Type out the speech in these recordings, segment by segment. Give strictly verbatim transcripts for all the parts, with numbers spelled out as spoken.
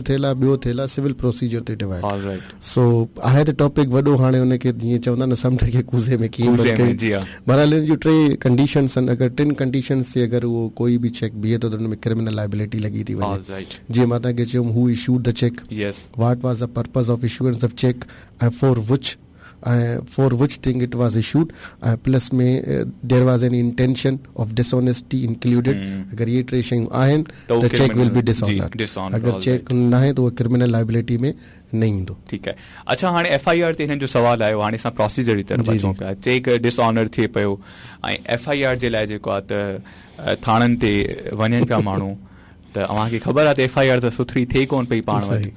ٿيل آهي، ٻيو ٿيل آهي سول پروسيجر تي ڊوائيڊ. سو آهي ته ٽاپڪ وڏو، هاڻي ان کي جيئن چوندا نه سمنڊ کي ڪوزي ۾ ڪيئن بند ڪيون. بهرحال ان جون ٽي ڪنڊيشنس آهن، اگر ٽن ڪنڊيشنس تي اگر اهو ڪوئي به چيڪ بيهي ٿو ته ان ۾ ڪرمنل لائبلٽي لڳي ٿي وڃي. جيئن مان توهان کي چيم who issued the cheque, what was the purpose of issuance of cheque ۽ for which ۽ for which thing it was issued ۽ plus ۾ there was any intention of dishonesty included. اگر اهي ٽي شيون آهن ته چيڪ ول بي ڊس آنرڊ، اگر چيڪ ناهي ته اهو criminal liability ۾ نه ايندو. ٺيڪ آهي. اڇا هاڻي ايف I R تي هنن جو سوال آيو، هاڻي اسان پروسيجر جي طرف اچون پيا. چيڪ ڊس آنر ٿئي پيو ۽ ايف I R جي لاء جيڪو آهي ته ٿاڻن تي وڃن پيا ماڻهو، ته اوهان کي خبر آهي ته ايف I R ته سٿري ٿئي ڪونه پئي پاڻ وٽ،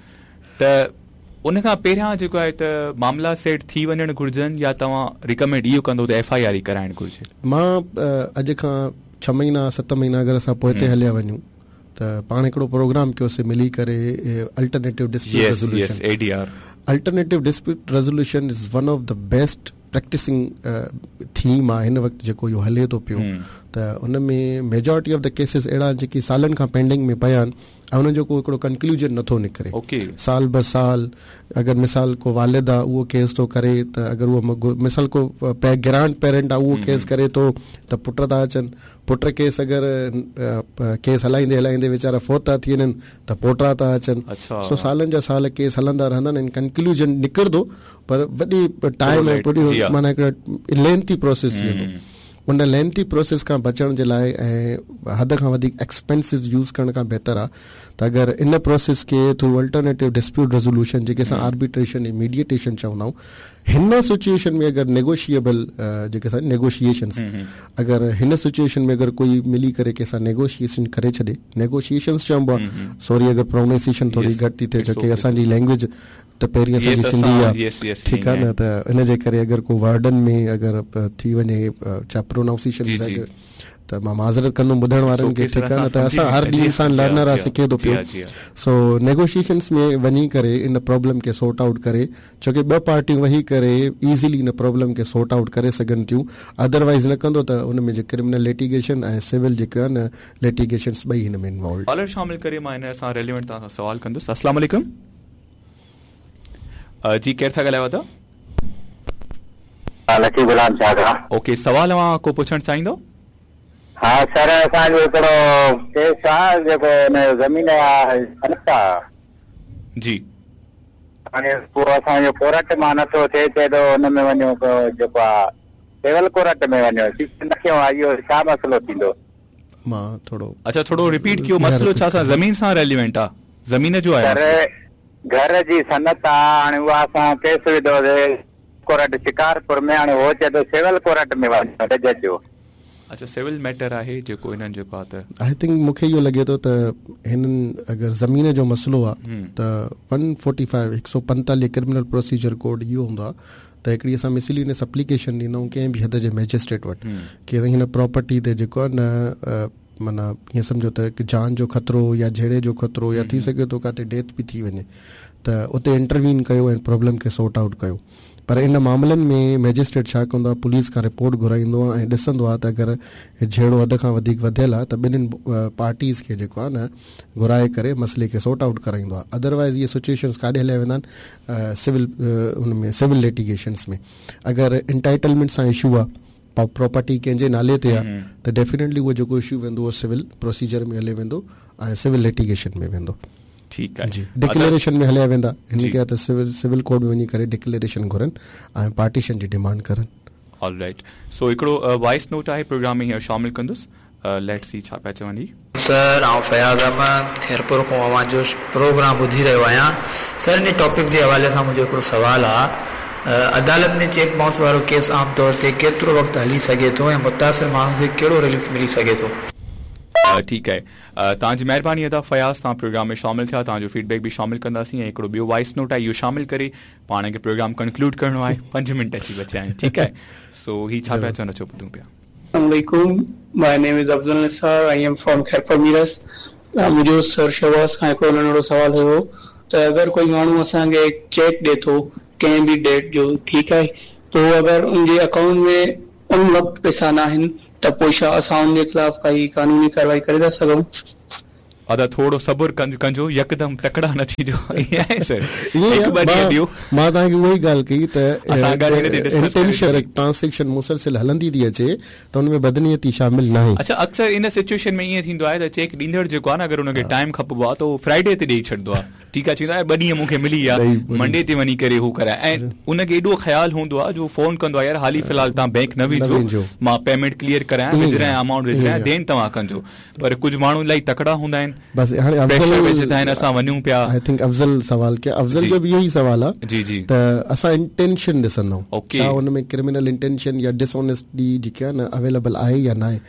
ته ان کان پهريان جيڪو آهي ته معاملا سيٽ ٿي وڃڻ گهرجن يا توهان ريڪمينڊ اهو ڪندو ته ايف I R ئي ڪرائڻ گهرجي؟ مان اڄ کان ڇهه مهينا ست مهينا اگر اسان پوئتي هليا وڃون ته پاڻ هڪڙو پروگرام ڪيوسين ملي ڪري alternative dispute resolution. Alternative dispute resolution is one of the best practicing theme آهي هن وقت جيڪو اهو هلي ٿو پيو، ته ان ۾ ميجارٽي آف the cases اهڙا آهن جيڪي سالن کان پينڊنگ ۾ پيا آهن ۽ انهن جو ڪو هڪڙو ڪنڪلوجن نٿو نڪري. سال به سال اگر مثال ڪو والد آهي اهو ڪيس ٿو ڪري ته اگر اهو مثال ڪو گرانڊ پيرنٽ آهي اهو ڪيس ڪري ٿو ته پٽ ٿا اچن، پٽ ڪيس اگر ڪيس هلائيندي هلائيندي ويچارا فوت ٿا ٿي وڃن ته پوٽا ٿا اچن. سو سالن جا سال ڪيس هلندا رهندا آهن ۽ ڪنڪلوجن نڪرندو پر وڏي ٽائيم ۽ وڏي معنيٰ هڪڙو لينٿي پروسيس ٿي ويندو. ان لينٿي پروسيس کان بچڻ جي لاء ۽ حد کان وڌيڪ ايڪسپينسز يوز ڪرڻ کان بهتر آهي ته اگر ان پروسيس کي ٿرو الٽرنيٽو ڊسپيوٽ ريزولوشن جيڪي اسان آربيٽريشن ۽ ميڊيئيٽيشن چوندا آهيون، هن سچوئيشن ۾ اگر نيگوشيئبل جيڪي اسان نيگوشيئيشنس اگر هن سچوئيشن ۾ اگر ڪوئي ملي ڪري ڪنهن سان نيگوشيئيشن ڪري ڇڏي، نيگوشيئيشنس چئبو آهي، سوري اگر پرونائنسيشن ٿوري گهٽ ٿي ٿئي ڇو ڪي اسان جي لينگويج ته پهرين اسان جي سنڌي آ، ٺيڪ آ نه، ته ان جي ڪري اگر ڪو ورڊن ۾ اگر ٿي وڃي ڇا پرونائونسيشن ته مان معذرت ڪندم ٻڌڻ وارن کي، ٺيڪ آ نه، ته اسان هر ڏينهن انسان لرنر آ، سکي ٿو پيو. سو نيگوشيئيشنس ۾ وڃي ڪري ان پرابلم کي سورٽ آئوٽ ڪري، ڇو ڪي ٻه پارٽيون ويهي ڪري ايزلي ان پرابلم کي سورٽ آئوٽ ڪري سگهن ٿيون، ادروائيز نه ڪندو ته ان ۾ جي ڪرمنل ليٽيگيشن ۽ سول جيڪو آهي نه ليٽيگيشنس ٻئي هن ۾ انوالوڊ. ڪالر شامل ڪري مان هن سان ريليونٽ توهان سان سوال ڪندس. السلام عليڪم. جي ڪير ٿا ڳالهايو ادا؟ لکي غلام شاهه کان. اوڪي سوال اوهان ڪو پڇڻ چاهيندو؟ ها سر اسان جو هڪڙو ڪيس آ جيڪو ان جو زمين جا سند آ. جي. هاڻي اهو اسان جو ڪورٽ مان نٿو ٿئي، چئي ٿو ان ۾ وڃو جيڪو آ سول ڪورٽ ۾ وڃو، سيشن رکيو آ، اهو ڇا مسئلو ٿيندو؟ مان ٿورو اڇا ٿورو رپيٽ ڪيو، مسئلو ڇا سان زمين سان ريليونٽ آ؟ زمين جو آهي سر گهر جي سند آ، هاڻي اها اسان ڪيس وڌو سي ڪورٽ شڪارپور ۾، هاڻي هو چئي ٿو سول ڪورٽ ۾ وڃو جج جو. اڇا سول ميٽر آهي جيڪو هنن جيڪو آ ته. I think مون کي اهو لڳي ٿو ته هنن اگر زمين جو مسئلو آ ته ون فورٽي فائيو هڪ سؤ پنتاليهه ڪرمنل پروسيجر ڪوڊ اهو هوندو آ ته هڪڙي اسان مسلينس اپليڪيشن ڏيندا آهيون ڪنهن به حد جي مئجسٽريٽ وٽ ڪي هن پراپرٽي تي جيڪو آ نه معنيٰ ائين سمجهو ته هڪ جان جو خطرو يا جهيڙي جو خطرو يا ٿي سگهي ٿو ڪاٿي ڊيٿ به ٿي وڃي ته اتي انٽروين ڪيو ۽ پرابلم کي سورٽ آئوٽ ڪيو. پر ان معاملن ۾ مئجسٽريٽ ڇا ڪندو آهي پوليس کان رپورٽ گهرائيندو آهي ۽ ڏسندو آهي ته اگر جهيڙو حد کان وڌيڪ وڌيل آهي ته ٻنهين پارٽيز کي جيڪو آهي نه گهرائي ڪري مسئلي کي سورٽ آئوٽ ڪرائيندو آهي. ادروائز اهي سچوئيشنز ڪاڏي هليا ويندا آهن سول ان ۾ سول لٽيگيشنز ۾ اگر انٽائٽلمينٽ سان اشو آهي پراپرٽي ڪنهن جي نالي تي آهي ته ڊيفينيٽلي اهو جيڪو اشو ويندو اهو سول پروسيجر ۾ هلي ويندو ۽ سول لٽيگيشن ۾ ويندو. ٺيڪ آهي جي ڊڪليريشن ۾ هليا ويندا. هن کي ته سول سول ڪورٽ ۾ وڃي ڪري ڊڪليريشن گهرن ۽ پارٽيشن جي ڊيمانڊ ڪرن. آل رائيٽ سو هڪڙو وائس نوٽ آهي پروگرام ۾ هينئر شامل ڪندس let's see ڇا پيا چون هي. سر آئون فياض احمد خيرپور کان اوهان جو پروگرام ٻڌي رهيو آهيان سر انهي ٽاپڪ جي حوالي سان منهنجو هڪڙو سوال آ عدالت ۾ چيڪ بائونس وارو ڪيس عام طور تي ڪيترو وقت هلي سگهي ٿو ۽ متاثر ماڻهو کي ڪهڙو رليف ملي سگهي ٿو؟ ٺيڪ آهي توهان جي مهرباني ادا فياض توهان پروگرام ۾ شامل ٿيا توهان جو فيڊ بيڪ به شامل ڪنداسين ۽ هڪڙو ٻيو وائس نوٽ آهي اهو شامل ڪري پاڻ کي پروگرام ڪنڪلوڊ ڪرڻو آهي پنج منٽ اچي بچيا آهن ٺيڪ آهي سو هي ڇا پيا چون اچو ٻڌون پيا. السلام عليڪم my name is Afzal Nisar I am from Khairpur Mirs منهنجو سر شهباز کان هڪڙو ننڍڙو سوال هيو ته اگر ڪوئي ماڻهو اسان کي چيڪ ڏي ٿو ڪنهن به ڊيٽ جو ٺيڪ آهي پوء اگر ان جي اڪائونٽ ۾ ان وقت پئسا ناهن ته پوء ڇا اسان ان جي خلاف ڪائي قانوني ڪارروائي ڪري ٿا سگهون؟ ادا ٿورو صبر ڪجو يڪدم تڪڙا نه ٿجو ائين آهي سر هڪ ٻه ڏينهن ڏيو. مان توهان کي اها ئي ڳالهه ڪئي ته اسان ڳالهه هن تي ڊسڪس ڪيون ٽرانزيڪشن مسلسل هلندي ٿي اچي ته ان ۾ بدنيتي شامل ناهي. اڇا اڪثر ان سچوئيشن ۾ ائين ٿيندو آهي ته چيڪ ڏيندڙ جيڪو آهي نه اگر ان کي ٽائيم کپبو آهي ته اهو فرائيڊي تي ڏيئي ڇڏندو آهي ٺيڪ آهي چوندو آهي ٻه ڏينهن مون کي ملي ويا منڊي تي وڃي ڪري هو ڪرائي ۽ ان کي ايڏو خيال هوندو آهي جو فون ڪندو آهي يار حالي في الحال توهان بينڪ نه وڃجو مان پيمينٽ ڪليئر ڪرايان وجهرايان امائونٽ وجهرايان دين توهان ڪجو پر ڪجهه ماڻهو الاهي تڪڙا هوندا آهن بس هاڻي افضل وجهندا آهن اسان وڃون پيا. I think افضل سوال ڪيو افضل جو به اهو ئي سوال آهي جي جي ته اسان انٽينشن ڏسندا آهيون ڇا ان ۾ ڪرمنل انٽينشن يا ڊس آنيسٽي جيڪي آهي نه اويليبل آهي يا ناهي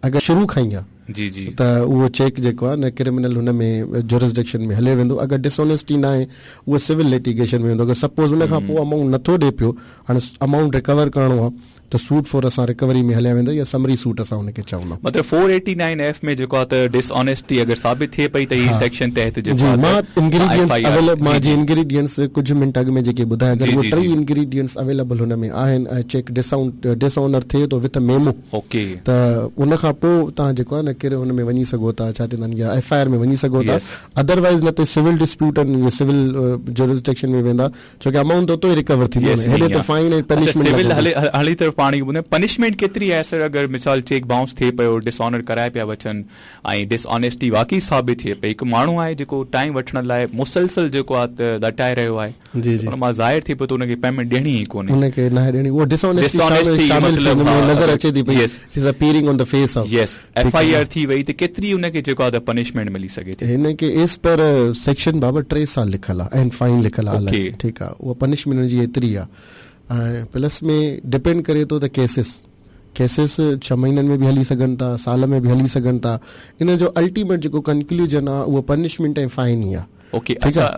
اگر شروع کان ئي آهي جي جي ته اهو چيڪ جيڪو آهي نه ڪرمنل هن ۾ جورسڊڪشن ۾ هلي ويندو اگر ڊس آنيسٽي نه آهي اهو سول لٽيگيشن ۾ ويندو اگر سپوز ان کان پوء امائونٽ نٿو ڏي پيو هاڻي امائونٽ رڪور ڪرڻو آهي ته سوٽ فور اسان رڪوري ۾ هليا ويندا يا سمري سوٽ اسان ان کي چوندا. مطلب فور ايٽي نائن ايف ۾ جيڪو آهي ته ڊس آنيسٽي اگر ثابت ٿئي پئي ته هي سيڪشن تحت جيڪو آهي مان انگريڊينٽس اويليبل مان جي انگريڊينٽس ڪجهه منٽ اڳ ۾ جيڪي ٻڌايا اگر اهي ٽئي انگريڊينٽس اويليبل هن ۾ آهن ۽ چيڪ ڊسائونٽ ڊس آنر ٿئي ٿو وٿ ميمو اوڪي ته ان کان پوء توهان جيڪو آهي نه ڪري هن ۾ وڃي سگهو ٿا ڇا چوندا آهن يا ايف I R ۾ وڃي سگهو ٿا ادروائز نه ته سول ڊسپيوٽ آهن سول جورسڊڪشن ۾ ويندا ڇو ڪه امائونٽ اتو ئي رڪور ٿيندو هيڏي ته فائن ۽ پنشمينٽ سول هلي هلي طرف پاڻ کي ٻڌايو پنشمينٽ ڪيتري آهي سر اگر مثال چيڪ بائونس ٿئي پيو ڊس آنر ڪرائي پيا وٺن ۽ ڊس آنيسٽي واقعي ثابت ٿئي پئي هڪ ماڻهو آهي جيڪو ٽائيم وٺڻ لاء مسلسل جيڪو آهي ته لٽائي رهيو آهي جي جي ان مان ظاهر ٿئي پيو ته ان کي پيمينٽ ڏيڻي ئي ڪونهي ان کي ناهي ڏيڻي اهو ڊس آنيسٽي شامل نظر اچي ٿي پئي is appearing on the face of yes F I R ٿي وئي ته ڪيتري ان کي جيڪو آهي ته پنشمينٽ ملي سگهي ٿي هن کي ايز پر سيڪشن بابا ٽي سال لکيل آهي ۽ فائن لکيل آهي ٺيڪ آهي اها پنشمينٽ هن جي ايتري آهي ۽ پلس ۾ ڊپينڊ ڪري ٿو ته ڪيسز ڪيسز ڇهه مهينن ۾ به هلي سگهن ٿا سال ۾ به هلي سگهن ٿا ان جو الٽيميٽ جيڪو ڪنڪلوزن آهي اهو پنشمينٽ ۽ فائن ئي آهي. اوڪي اڇا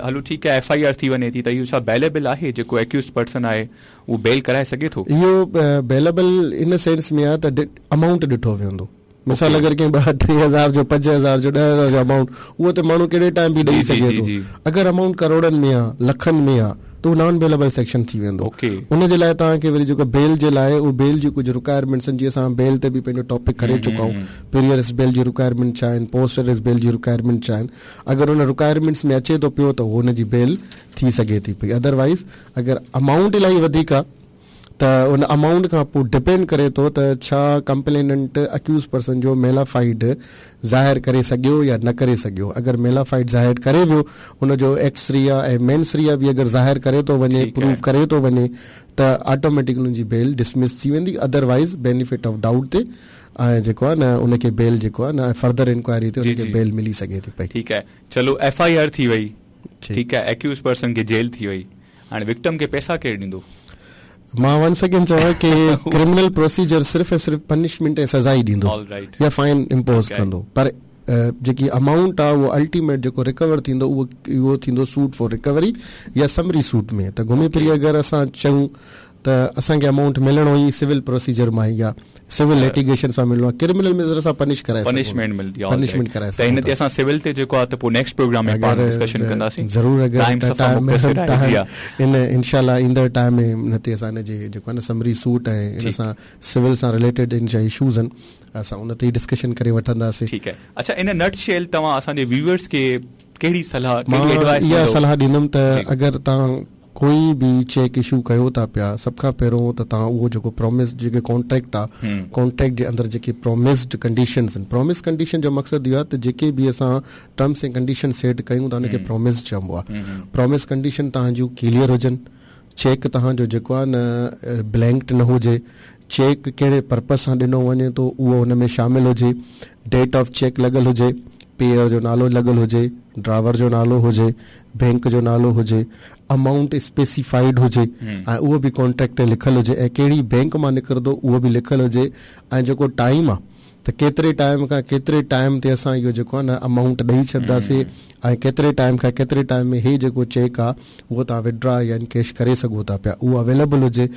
هلو ٺيڪ آهي ايف I R ٿي وڃي ٿي ته اهو ڇا بيليبل آهي جيڪو اڪيوزڊ پرسن آهي اهو بيل ڪرائي سگهي ٿو؟ اهو بيليبل ان سينس ۾ آهي ته امائونٽ ڏٺو ويندو مثال اگر ڪنهن ٻه ٽي هزار جو پنج هزار جو ڏهه هزار جو امائونٽ اهو ته ماڻهو ڪهڙي ٽائيم به ڏئي سگهي ٿو اگر امائونٽ ڪروڙن ۾ آهي لکن ۾ آهي ته اهو نان بيليبل سيڪشن ٿي ويندو ان جي لاء توهان کي وري جيڪو بيل جي لاء اهو بيل جون ڪجهه رڪوائرمينٽس آهن جيئن اسان بيل تي به پنهنجو ٽاپڪ ڪري چڪا آهيون پري اريسٽ بيل جون رڪوائرمينٽ ڇا آهن پوسٽ اريسٽ بيل جي رڪوائرمينٽ ڇا آهن اگر ان رڪوائرمينٽس ۾ اچي ٿو پيو ته ان جي بيل ٿي سگهي ٿي پئي ادروائز اگر امائونٽ الاهي وڌيڪ آهي ته ان امائونٽ کان پوء ڊپينڊ ڪري ٿو ته ڇا ڪمپليننٽ اڪيوز پرسن جو ميلافائيڊ ظاهر ڪري سگهيو يا نه ڪري سگهيو اگر ميلافائيڊ ظاهر ڪري ويو ان جو ايڪس ريا ۽ مينس ريا به اگر ظاهر ڪري ٿو وڃي پروف ڪري ٿو وڃي ته آٽوميٽڪ ان جي بيل ڊسمس ٿي ويندي ادروائز بينيفٽ آف ڊائوٽ تي ۽ جيڪو آهي نه ان کي بيل جيڪو آهي نه فردر انڪوائري تي ان کي بيل ملي سگهي ٿي پئي. ٺيڪ آهي چلو ايف I R ٿي وئي ٺيڪ آهي اڪيوز پرسن کي جيل ٿي وئي هاڻي وڪٽم کي پئسا ڪير ڏيندو؟ مان ون سيڪنڊ چوان ڪي ڪرمنل پروسيجر صرف ۽ صرف پنشمينٽ ۽ سزا ئي ڏيندو يا فائن امپوز ڪندو پر جيڪي امائونٽ آهي اهو الٽيميٽ جيڪو رڪور ٿيندو اهو اهو ٿيندو سوٽ فار رڪوري يا سمري سوٽ ۾ ته گهمي ڦري اگر اسان چئون ته اسان کي امائونٽ ملڻو ئي سول پروسيجر مان ئي آهي سول لٽيگيشن سان ملڻو آهي ڪرمنل ۾ ذرا اسان پنش ڪرائي پنشمينٽ ملندي آهي پنشمينٽ ڪرائي ته هن تي اسان سول تي جيڪو آهي ته پوء نيڪسٽ پروگرام ۾ پاڻ ڊسڪشن ڪنداسين ضرور اگر ٽائيم صفا مختصر آهي جي ها ان انشاء الله ايندڙ ٽائيم ۾ ان تي اسان ان جي جيڪو آهي نه سمري سوٽ ۽ ان سان سول سان رليٽيڊ ان جا اشوز آهن اسان ان تي ئي ڊسڪشن ڪري وٺنداسين. ٺيڪ آهي اڇا ان نٽ شيل توهان اسان جي ويوئرس کي ڪهڙي صلاح ڪهڙي ايڊوائس مان اها صلاح ڏيندم ته اگر توهان ڪوئي به چيڪ اشو ڪيو ٿا پيا سڀ کان پهريون ته توهان اهو جيڪو پرامس جيڪي ڪانٽريڪٽ آ ڪانٽريڪٽ جي اندر جيڪي پرامسڊ ڪنڊيشنز آهن پرامس ڪنڊيشن جو مقصد اهو آهي ته جيڪي به اسان ٽرمس ۽ ڪنڊيشن سيٽ ڪيون ٿا ان کي پرامس چئبو آهي پرامس ڪنڊيشن توهان جون ڪليئر هجن چيڪ توهان جو جيڪو آهي نه بلينڪڊ نه هجي چيڪ ڪهڙي پرپز سان ڏنو وڃي ٿو اهو ان ۾ شامل هجي ڊيٽ آف چيڪ لڳل هجي پيئر جو نالو لڳل هجي ڊرائيور جو نالو هجي بينڪ جو نالو هجي امائونٽ اسپيسيفائيڊ هجي ۽ اهو به ڪانٽريڪٽ تي لکيل هجي ۽ ڪهڙي بينڪ مان نڪرندو اهو به لکيل هجي ۽ جيڪو ٽائيم آهي ته ڪيتري ٽائيم کان ڪيتري ٽائيم تي اسان اهو جيڪو آهي نه امائونٽ ڏئي ڇڏنداسين ۽ ڪيتري ٽائيم کان ڪيتري ٽائيم ۾ هي جيڪو چيڪ آهي اهو توهان وڊرا يا انڪيش ڪري سگهو ٿا پيا اهو اويليبل هجي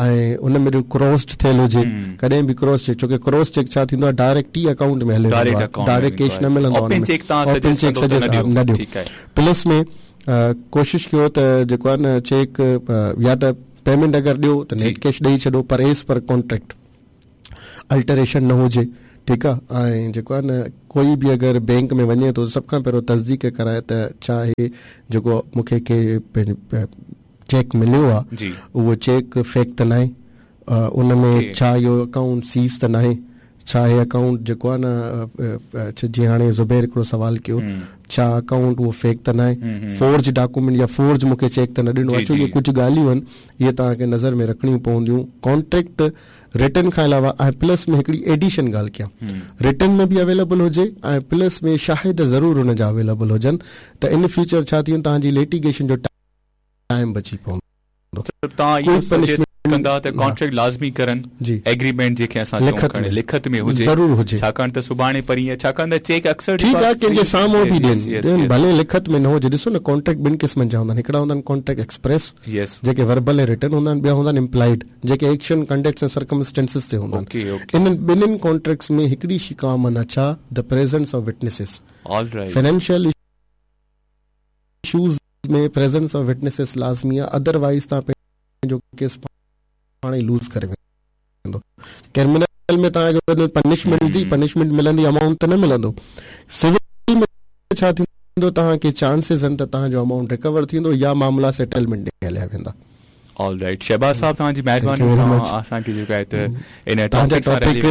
۽ ان ۾ ڪراسڊ ٿيل هجي ڪڏهن به ڪراس چيڪ ڇو ڪي ڪراس چيڪ ڇا ٿيندو آهي ڊائريڪٽ ئي اڪائونٽ ۾ هليو ويندو آهي ڊائريڪٽ ڪيش نه ملندو آهي اوپن چيڪ سجيسٽ نه ڏيو پلس ۾ ڪوشش ڪيو ته جيڪو آهي نه چيڪ يا ته پيمينٽ اگر ڏيو ته نيٽ ڪيش ڏئي ڇڏو پر ايز پر ڪانٽريڪٽ الٽريشن نه هجي ٺيڪ آهي. ۽ جيڪو آهي نه ڪوئي به اگر بينڪ ۾ وڃي ٿو سڀ کان پهريون تصديق ڪرائي ته ڇا هي جيڪو مون کي ڪي چيڪ مليو آهي اهو چيڪ فيڪ ته ناهي، ان ۾ ڇا اهو اڪائونٽ سيز ته ناهي، ڇا هي اڪائونٽ جيڪو آهي نه جيئن هاڻي زبير هڪڙو سوال ڪيو ڇا اڪائونٽ اهو فيڪ ته ناهي، فورج ڊاڪومينٽ يا فورج مون کي چيڪ ته نه ڏنو. اچو اهي ڪجهه ڳالهيون آهن اهي توهان کي نظر ۾ رکڻيون پونديون. ڪانٽريڪٽ رٽن کان علاوه ۽ پلس ۾ هڪڙي ايڊيشن ڳالهه ڪيان، رٽن ۾ به اويليبل هجي ۽ پلس ۾ شاهد ضرور ان جا اويليبل هجن ته ان فيوچر ڇا ٿيندو توهان جي لٽيگيشن جو ٽائيم بچي پوندو. توهان اهو سجيسٽ ڪندا ته ڪانٽريڪٽ لازمي ڪرن، ايگريمينٽ جنهن کي اسان چئون کڻي لکت ۾ هجي ضرور هجي، ڇاڪاڻ ته سڀاڻي پرينء ڇاڪاڻ ته چيڪ اڪثر ٺيڪ آهي ڪنهن جي سامهون به ڏين ڀلي لکت ۾ نه هجي. ڏسو نه ڪانٽريڪٽ ٻن قسمن جا هوندا آهن، هڪڙا هوندا آهن ڪانٽريڪٽ ايڪسپريس جيڪي وربل ۽ رٽن هوندا آهن، ٻيا هوندا آهن امپلائيڊ جيڪي ايڪشن ڪنڊڪٽس ۽ سرڪمسٽينسز تي هوندا آهن. انهن ٻنهين ڪانٽريڪٽس ۾ هڪڙي شي ڪامن آهي، ڇا؟ The presence of witnesses. Financial issues ۾ presence of witnesses لازمي آهي، ادروائيز توهان پنهنجو ڪيس پاڻ ئي لوز ڪري ويندو. ڪرمنل ۾ توهان کي پنشمينٽ ملندي، پنشمينٽ ملندي امائونٽ ته نه ملندو. سول ۾ ڇا ٿيندو توهان کي چانسز آهن ته توهان جو امائونٽ ريڪور ٿيندو يا معاملا سيٽلمينٽ ڏي هليا ويندا. آل رائيٽ شهباز صاحب توهان جي مهرباني توهان اسان کي جيڪو آهي ته ان توهان جا ٽاپڪ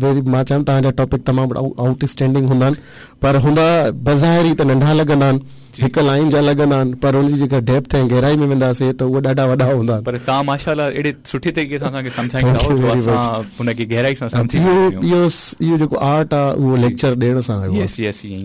ويري مان چوان توهان جا ٽاپڪ تمام آئوٽ اسٽينڊنگ هوندا آهن پر هوندا بظاهر ئي ته ننڍا لڳندا آهن، هڪ لائين جا لڳندا آهن پر ان جي جيڪا ڊيپٿ ۽ گهرائي ۾ وينداسين ته اهي ڏاڍا وڏا هوندا آهن. پر توهان ماشاء الله اهڙي سٺي طريقي سان اسان کي سمجهائيندا آهيو جو اسان ان کي گهرائي سان سمجهي اهو اهو اهو جيڪو آرٽ آهي اهو ليڪچر ڏيڻ سان آيو آهي.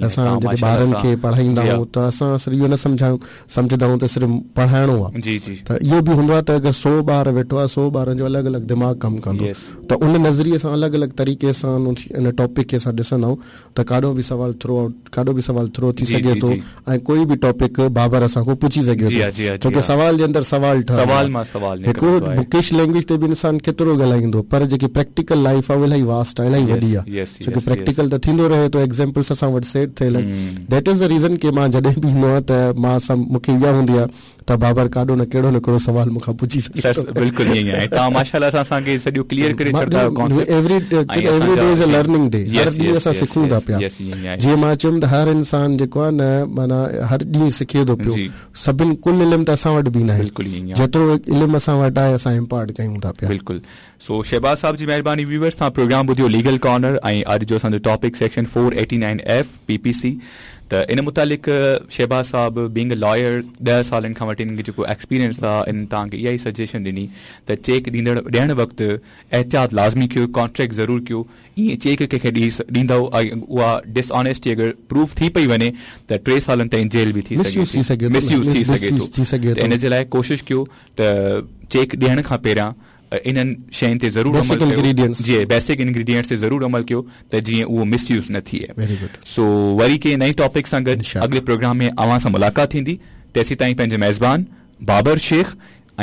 اسان جڏهن ٻارن کي پڙهائيندا آهيون ته اسان صرف اهو نه سمجهايون سمجهندا آهيون ته صرف پڙهائڻو آهي جي جي ته اهو به هوندو آهي ته اگر سؤ ٻار ويٺو آهي سؤ ٻارن جو الڳ الڳ دماغ ڪم ڪندو ته ان نظريي سان الڳ الڳ طريقي سان ان ٽاپڪ کي اسان ڏسندا آهيون ته ڪاڏو به سوال ٿرو آئوٽ ڪاڏو به سوال ٿرو ٿي سگهي ٿو ۽ ڪوئي به ٽاپڪ بابر اسان کان پڇي سگهي ٿو ڇو ڪه سوال جي اندر سوال سوال مان سوال هڪڙو بڪش لينگويج تي به انسان ڪيترو ڳالهائيندو پر جيڪي پريڪٽيڪل لائيف آهي اها الاهي واسٽ آهي الاهي وڏي آهي ڇو ڪه پريڪٽيڪل ته ٿيندو رهي ٿو ايگزامپلس اسان وٽ سيٽ ٿيل آهن. That is the reason ڪه مان جڏهن به ايندو آهيان ته مان سم مون کي اها هوندي آهي ته بابر ڪاڏو نه ڪهڙو نه ڪهڙو سوال مون کان پڇي سگهي ٿو. بلڪل ائين ئي آهي توهان ماشاء الله سان اسان کي سڄو ڪليئر ڪري ڇڏندا آهيو concept. Every every day is a learning day هر ڏينهن اسان سکون ٿا پيا جيئن مان چيم ته هر انسان جيڪو آهي نه معنيٰ هر ڏينهن سکي ٿو پيو سڀن ڪل علم ته اسان وٽ به ناهي جيترو علم اسان وٽ آهي اسان امپارٽ ڪيون ٿا پيا. بلڪل سو شهباز صاحب جي مهرباني ويورز توهان پروگرام ٻڌيو ليگل ڪارنر ۽ اڄ جو اسان جو topic section four eighty nine F P P C ته ان متعلق شهباز صاحب بينگ ا لائر ڏهه سالن کان وٺي انهن کي جيڪو ايڪسپيرينس آ انهن توهان کي اها ئي سجيشن ڏني ته چيڪ ڏيندڙ ڏيڻ وقت احتياط لازمي ڪيو ڪانٽريڪٽ ضرور ڪيو ائين چيڪ ڪنهن کي ڏيندؤ ۽ اها ڊس آنيسٽي اگر پروف ٿي پئي وڃي ته ٽي سالن تائين جيل به ٿي سگهي ٿي مس يوز ٿي سگهي ٿو ته ان جي لاء ڪوشش ڪيو ته چيڪ ڏيڻ کان پهريان انهن شين تي ضرور عمل ڪيو جي بيسڪ انگريڊينٽس تي ضرور عمل ڪيو ته جيئن اهو مس يوز نه ٿئي. سو وري ڪنهن نئين ٽاپڪ سان گڏ اڳلي پروگرام ۾ اوهان سان ملاقات ٿيندي تيسين تائين پنهنجي ميزبان بابر شيخ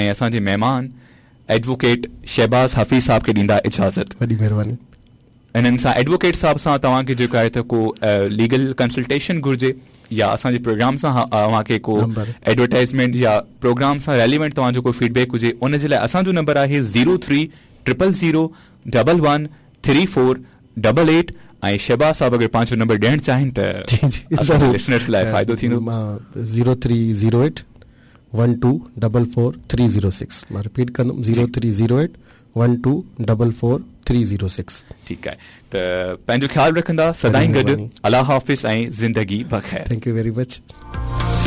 ۽ اسان جي مهمان ايڊووڪيٽ شهباز حفيظ صاحب کي ڏيندا اجازت. وڏي مهرباني. انهن سان ايڊووڪيٽ صاحب سان توهان کي جيڪو آهي ته ڪو ليگل ڪنسلٽيشن گهرجي يا اسان جي پروگرام سان اوهان کي ڪو ايڊورٽائزمينٽ يا پروگرام سان ريليونٽ توهان جو ڪو فيڊ بيڪ هجي ان جي لاء اسان جو نمبر آهي zero three triple zero double one three four double eight ۽ Shahbaz صاحب اگر پنهنجو نمبر ڏيڻ چاهين ته اسان جي لسنرز لاء فائدو ٿيندو. مان zero three zero eight one two double four three zero six مان رپيٽ ڪندم zero three zero eight one two double four three zero six. ٺيڪ آهي ته پنهنجو خيال رکندا سدائين گڏ الله حافظ ۽ زندگي بخير. Thank you very much.